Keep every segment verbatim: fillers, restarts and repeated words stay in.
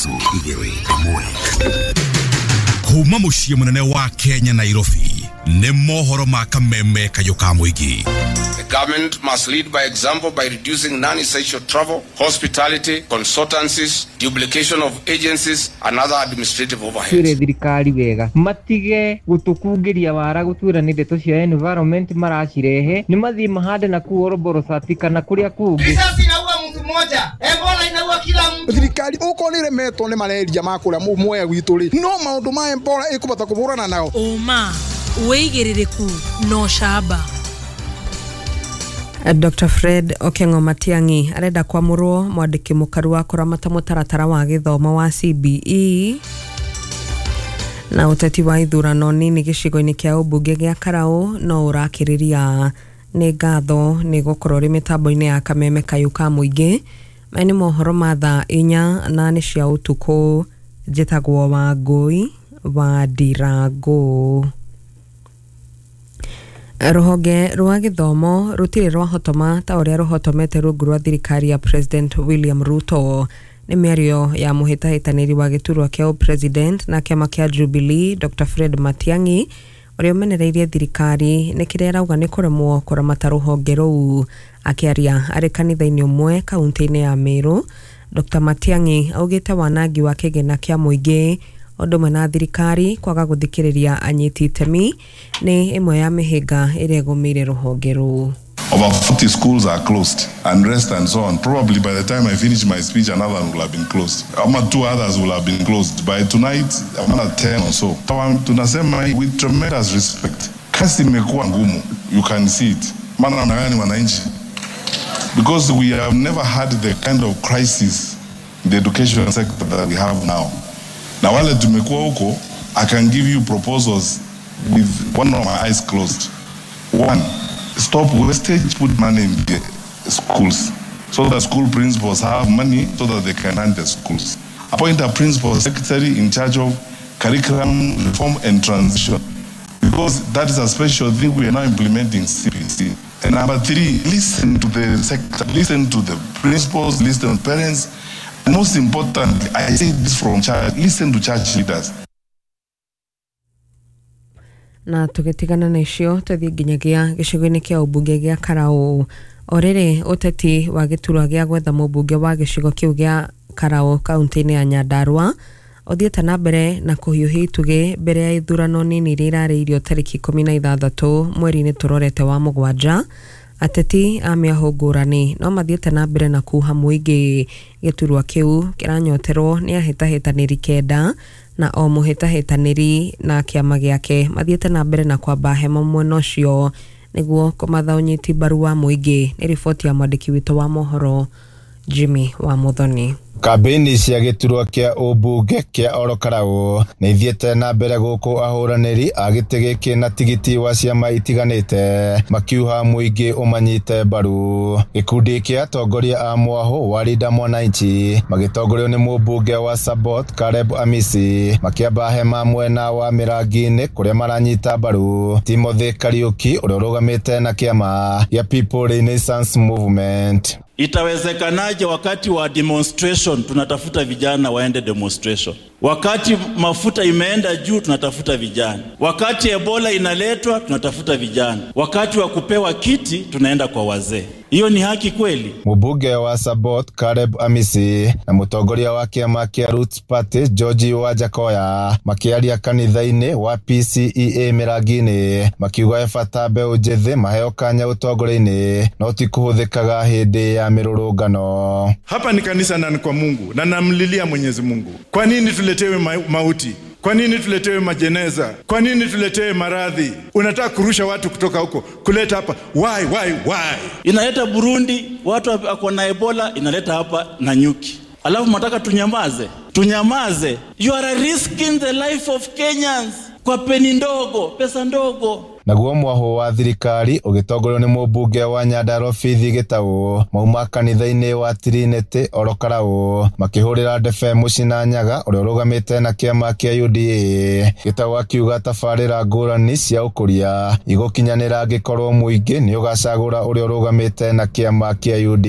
Ithatũ, igĩrĩ, ĩmwe. Kuma mũciĩ mũnene wa Kenya, Nairobi, nĩ mohoro ma kameme kayũ ka mũingĩ. The government must lead by example by reducing non-essential travel, hospitality, consultancies, duplication of agencies, and other administrative overheads. Twĩre thirikari wega matige gũtũkungĩria wara gũtwĩra nĩ ndeto cia environment maracirehe, nĩ mathiĩ mahande na kũu Oroborosati kana kũrĩa kũngĩ. Risasi inaua mtu mmoja, Ebola inaua kila mtu. Thirikari okorwo nĩ ĩremetwo nĩ malaria ma kũrĩa Mwea gwitũ rĩ, no maũndũ ma Ebola ĩkũbota kũhũrana nao. Ũma, wĩigĩrĩrĩku na ũcamba. Doctor Fred Okengo Matiang'i arenda kwamũrwo mwandĩki mũkaru wa kũramata mũtaratara wa gĩthomo wa C B E. Na ũteti wa ithurano nini gĩcigo-inĩ kĩa ũmbunge gĩa Karau no ũrakĩrĩria. Nĩ ngatho nĩ gũkorwo ũrĩ mĩtambo-inĩ ya kameme kayũ ka mũingĩ. Maya nĩ mohoro ma thaa inya na nĩ cia ũtukũ. Njĩtagwo Wangũi wa Ndirangũ. Rũhonge rwa gĩthomo rũtirĩ rwahotoma ta ũrĩa rũhotomete rungu rwa thirikari ya President William Ruto. Nĩ mĩario ya mũhĩtahĩtanĩri wa gĩturwa kĩa president na kĩama kĩa Jubilee, Doctor Fred Matiang'i, ũrĩa ũmenereirie thirikari nĩ kĩrĩa arauga nĩ kũremwo kũramata rũhonge rũu. Akĩaria arĩ kanitha-inĩ ũmwe kaunti-inĩ ya Meru, Doctor Matiang'i augĩte wanangi wa kĩgĩna kĩa mũingĩ ũndũ ũmwe na thirikari kwaga gũthikĩrĩria anyiti itemi nĩ ĩmwe ya mĩhĩnga ĩrĩa ĩgũmĩire rũhonge rũu. Over forty schools are closed and rest and so on. Probably by the time I finish my speech, another one will have been closed. Ama two others will have been closed. By tonight, another ten or so. Tunasema with tremendous respect. Kazi imekuwa ngumu. You can see it. Maana namna gani wananchi? Because we have never had the kind of crisis in the education sector that we have now. Na wale tumekuwa huko, I can give you proposals with one of my eyes closed. One, stop wastage, put money in the schools so that school principals have money so that they can run the schools. Appoint a principal secretary in charge of curriculum reform and transition, because that is a special thing we are now implementing, C B C. And number three, listen to the sector, listen to the principals, listen to parents. And most importantly, I say this from church, listen to church leaders. Na tũgĩtigana na icio, tũthiĩ nginyagia gĩcigo-inĩ kĩa ũmbunge gĩa Karau. O rĩrĩ ũteti wa gĩturwa gĩa gwetha mũmbunge wa gĩcigo kĩu gĩa Karau kaunti-inĩ ya Nyandarua ũthiĩte na mbere na kũhiũhia itugĩ mbere ya ithurano nini iria irarĩirio tarĩki ikũmi na ithathatũ mweri-inĩ tũrorete wa mũgwanja, ateti a mĩahũ ngũrani no mathiĩte na mbere na kuha mũingĩ. Gĩturwa kĩu kĩranyoterwo nĩ ahĩtahĩtanĩri kenda, na o mũhĩtahĩtanĩri na kĩama gĩake mathiĩte na mbere na kwamba hema mwena ũcio nĩguo kũmatha ũnyiti mbaru wa mũingĩ. Nĩ riboti ya mwandĩki witũ wa mohoro Jimmy wa Muthoni. Kambĩini cia gĩturwa kĩa ũmbunge kĩa Oro Karau nĩ ithiĩte na mbere gũkũ ahũranĩri a gĩtĩ gĩkĩ na tigiti wa ciama itiganĩte makiuha mũingĩ ũmanyite mbaru. Gĩkundi kĩa atongoria a mwahũ wa Linda Mwananchi magĩtongorio nĩ mũmbunge wa Sabot Caleb Amisi makĩamba hema mwena wa Mĩrangi-inĩ kũrĩa maranyita mbaru Timothy Kariuki ũrĩa ũrũgamĩte na kĩama gĩa People Renaissance Movement. Itawezekanaje wakati wa demonstration tunatafuta vijana waende demonstration? Wakati mafuta imeenda juu tunatafuta vijana. Wakati Ebola inaletwa tunatafuta vijana. Wakati wa kupewa kiti tunaenda kwa wazee. Hiyo ni haki kweli? Mũmbunge wa Sabot Caleb Amisi na mũtongoria wa kĩama kĩa Roots Party George Wajackoyah makĩaria kanitha-inĩ wa P C E A Mĩrangi-inĩ makiuga he bata mbeũ njĩthĩ maheo kanya ũtongoria-inĩ no ti kũhũthĩkaga hĩndĩ ya mĩrũrũngano. Hapa ni kanisa na ni kwa Mungu na namlilia Mwenyezi Mungu. Kwa nini tuletewe ma mauti? Kwa nini tuletewe majeneza? Kwa nini tuletewe maradhi? Unataka kurusha watu kutoka huko kuleta hapa. Why, why, why? Inaleta Burundi watu wako na Ebola, inaleta hapa na nyuki. Alafu mnataka tunyamaze? Tunyamaze? You are risking the life of Kenyans kwa peni ndogo, pesa ndogo. Naguo mwahũ wa thirikari ũgĩtongorio nĩ mũmbunge wa Nyandarua Faith Gĩtaũ mauma kanitha-inĩ wa Trinity Oro Karau makĩhũrĩra ndebe Mũcina Nyaga ũrĩa ũrũgamĩte na kĩama kĩa U D A. Gĩtaũ akiuga tabarĩra ngũrani cia ũkũria igũkinyanĩra angĩkorwo mũingĩ nĩ ũgacagũra ũrĩa ũrũgamĩte na kĩama kĩa U D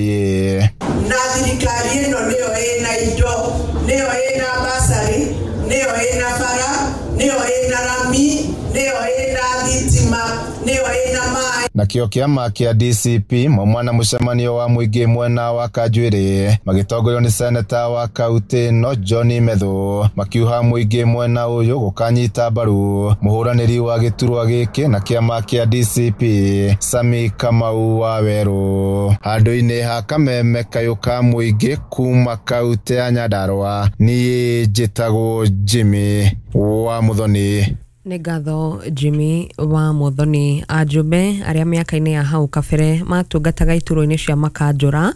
A. Na thirikari ĩno nĩyo ĩna indo. Nĩyo ĩna basari, nĩyo ĩna bara, nĩyo ĩna rami, nĩyo ĩna thitima, nĩyo ĩna maĩ. Nakĩo kĩama kĩa D C P mauma na mũcemanio wa mũingĩ mwena wa Kanjuĩrĩ magĩtongorio nĩ seneta wa kaunti ĩno John Methu makiuha mũingĩ mwena ũyũ gũkanyita mbaru mũhũranĩri wa gĩturwa gĩkĩ na kĩama kĩa D C P Sami Kamau wa Werũ. Handũ-inĩ ha kameme kayũ ka mũingĩ kuma kaunti ya Nyandarua, niĩ njĩtagwo Jimmy wa Muthoni. Nĩ ngatho Jimmy wa Muthoni. Ajumbe arĩa mĩaka-inĩ ya hau kabere matungataga iturwa-inĩ cia makanjũra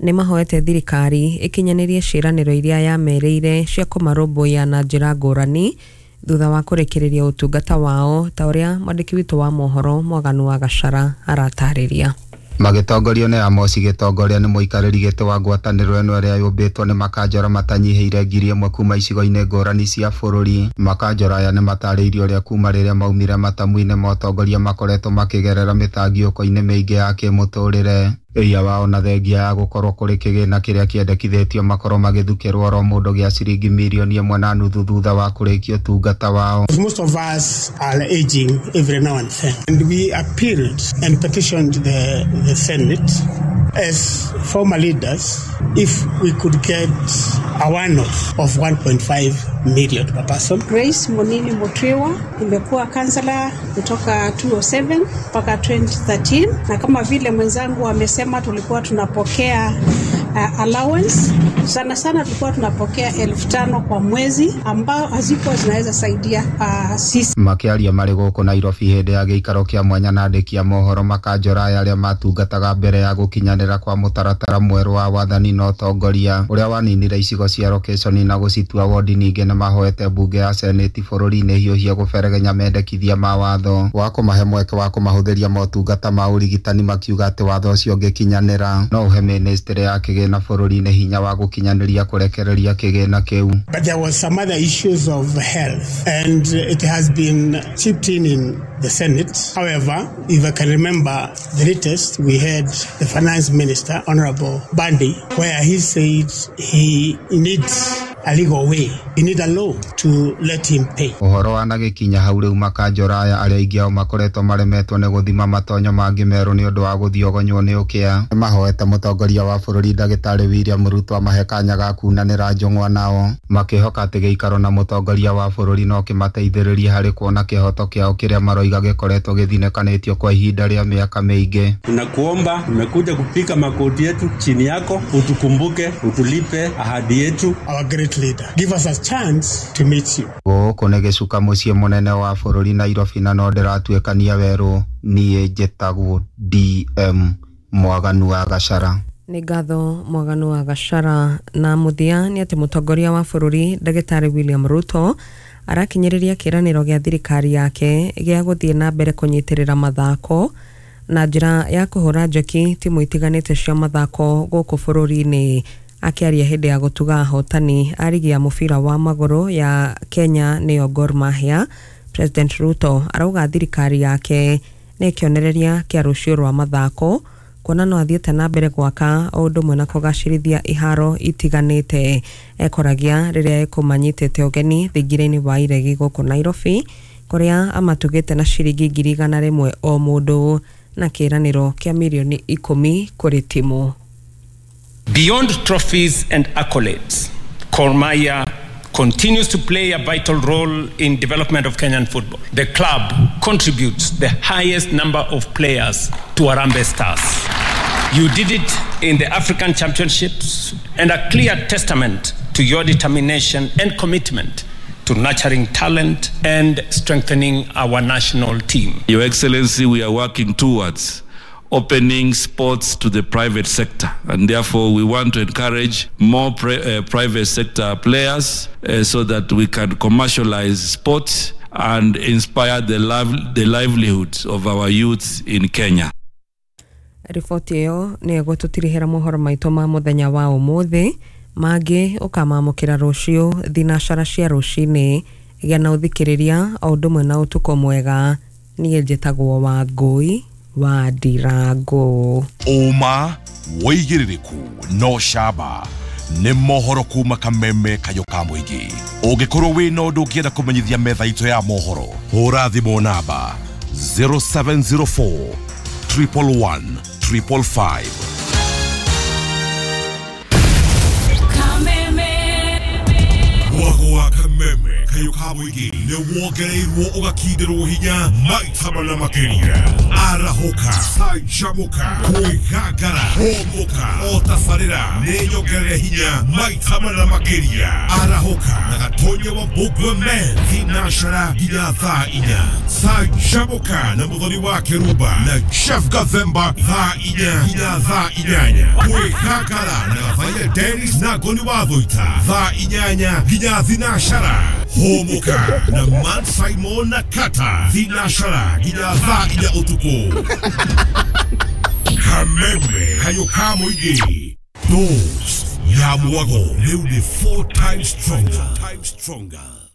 nĩ mahoete thirikari ĩkinyanĩrie ciĩranĩro iria yamerĩire cia kũmarũmbũiya na njĩra ngũrani thutha wa kũrĩkĩrĩria ũtungata wao, ta ũrĩa mwandĩki witũ wa mohoro Mwaganu wa Gachara aratarĩria. Magĩtongorio nĩ Amos Gĩtongoria nĩ mũikarĩri gĩtĩ wa ngwatanĩro ĩno ĩrĩa yũmbĩtwo nĩ makanjora matanyihĩire ngiri ĩmwe kuma icigo-inĩ ngũrani cia bũrũri. Makanjora aya nĩ matarĩirie ũrĩa kuma rĩrĩa maumire matamu-inĩ ma ũtongoria makoretwo makĩgerera mĩtangiũko-inĩ mĩingĩ ya kĩmũtũrĩre. Ĩia wao na thengia ya gũkorwo kũrĩ kĩgĩna kĩrĩa kĩendekithĩtio makorwo magĩthukĩrwo oro mũndũ gĩa ciringi mirioni ĩmwe na nuthu thutha wa kũrĩkia ũtungata wao. Most of us are aging every now and then, and we appealed and petitioned the, the Senate as former leaders if we could get a one-off of one point five million per person. Grace Monini Mutriwa, nimekuwa kansela kutoka two oh seven mpaka twenty thirteen, na kama vile mwenzangu amesema tulikuwa tunapokea uh, allowance sana sana tulikuwa tunapokea elfu tano kwa mwezi ambao hazikuwa zinaweza saidia uh, sisi. Makĩaria marĩ gũkũ Nairobi hĩndĩ ya gĩikaro kĩa mwanya na andĩki a mohoro, makanjora aya arĩa matungataga mbere ya gũkinyanĩra kwa mũtaratara mwerũ wa wathani na ũtongoria ũrĩa waninire icigo cia location na gũcitua wodi, ningĩ nĩ mahoete mbunge ya seneti bũrũri-inĩ hiũhia gũberegenya mendekithia ma watho wa kũmahe mweke wa kũmahũthĩria motungata ma ũrigitani, makiuga atĩ watho ũcio ũngĩkinyanĩra no ũhe ministry ya kĩgĩna bũrũri-inĩ hinya wa gũkinyanĩria kũrekereria kĩgĩna kĩu. But there was some other issues of health and it has been chipped in in the Senate. However, if I can remember the latest, we had the finance minister, Honorable Bandi, where he said he needs a legal way. He needs a law to let him pay. Ũhoro wanagĩkinya hau rĩu makanjora aya arĩa aingĩ ao makoretwo maremetwo nĩ gũthima matonyo mangĩ merũ nĩ ũndũ wa gũthiogonywo nĩ ũkĩa, nĩmahoete mũtongoria wa bũrũri ndagĩtarĩ William Ruto amahe kanya ga kunanĩra njũng'wa nao, makĩhoka atĩ gĩikaro na mũtongoria wa bũrũri no kĩmateithĩrĩrie harĩ kuona kĩhoto kĩao kĩrĩa maroiga gĩkoretwo gĩthinĩkanĩtio kwa ihinda rĩa mĩaka mĩingĩ. Tunakuomba, tumekuja kupika makoti yetu chini yako, utukumbuke, utulipe ahadi yetu. Our great leader, give us a chance to meet you. Gũkũ nĩ gĩcuka mũciĩ mũnene wa bũrũri Nairobi, na no ndĩratuĩkania werũ. Niĩ njĩtagwo D M Mwaganu wa Gachara. Nĩ ngatho Mwaganu wa Gachara. Na mũthia nĩ atĩ mũtongoria wa bũrũri ndagĩtarĩ William Ruto arakinyĩrĩria kĩĩranĩro gĩa thirikari yake gĩa gũthiĩ na mbere kũnyitĩrĩra mathako na njĩra ya kũhũra njeki timu itiganĩte cia mathako gũkũ bũrũri-inĩ. Akĩaria hĩndĩ ya gũtuga ahotani a rigi ya mũbira wa magũrũ ya Kenya nĩyo Gor Mahia, President Ruto arauga thirikari yake nĩ kĩonereria kĩa rũciũ rwa mathako, kuona no athiĩte na mbere gwaka o ũndũ ũmwe na kũgacĩrithia iharo itiganĩte. Ekoragia rĩrĩa ekũmanyitĩte ũgeni thingira-inĩ wa iregi gũkũ Nairobi, kũrĩa amatugĩte na ciringi ngiri igana rĩmwe o mũndũ na kĩĩranĩro kĩa mirioni ikũmi kũrĩ timu. Beyond trophies and accolades, Gor Mahia continues to play a vital role in development of Kenyan football. The club contributes the highest number of players to Harambee Stars. You did it in the African Championships, and a clear testament to your determination and commitment to nurturing talent and strengthening our national team. Your Excellency, we are working towards opening sports to the private sector, and therefore we want to encourage more pri- uh, private sector players uh, so that we can commercialize sports and inspire the, liv- the livelihoods of our youths in Kenya. Riboti ĩyo nĩ ĩgũtũtirihĩra mohoro maitũ ma mũthenya wa ũmũthĩ, mangĩ ũkamamũkĩra rũciũ thinacara cia rũcinĩ. Gĩa na ũthikĩrĩria o ũndũ ũmwe na ũtukũ mwega. Niĩ njĩtagwo Wangũi wa Ndirango. Ũma wĩigĩrĩrĩku no camba Nĩ mohoro kuma Kameme Kayũ ka Mũingĩ. Ũngĩkorwo wĩna ũndũ ũngĩenda kũmenyithia metha itũ ya mohoro, hũra thimũ namba zero seven zero four triple one triple five. Mwago wa Kameme Kayũ ka Mũingĩ nĩ wongereirwo ũgakindĩrwo hinya maita mana makĩria. Arahũka, canjamũka, kwĩgangara, hũmũka, o tabarĩra nĩ nyongerere hinya maita mana makĩria. Arahũka na Gatonya wa Mbũngwe Men thinacara nginya thaa inya. Canjamũka na Mũthoni wa Kĩrumba na Chef Gathemba thaa inya nginya thaa inyanya. Kwĩgangara na Gathaia Dennis na Ngoni wa Thũita thaa inyanya nginya thinacara. Hũmũka na Matt Simon na Kata thinacara nginya thaa inya ũtukũ. Kameme Kayũ ka Mũingĩ, dose ya mwago rĩu nĩ four times stronger.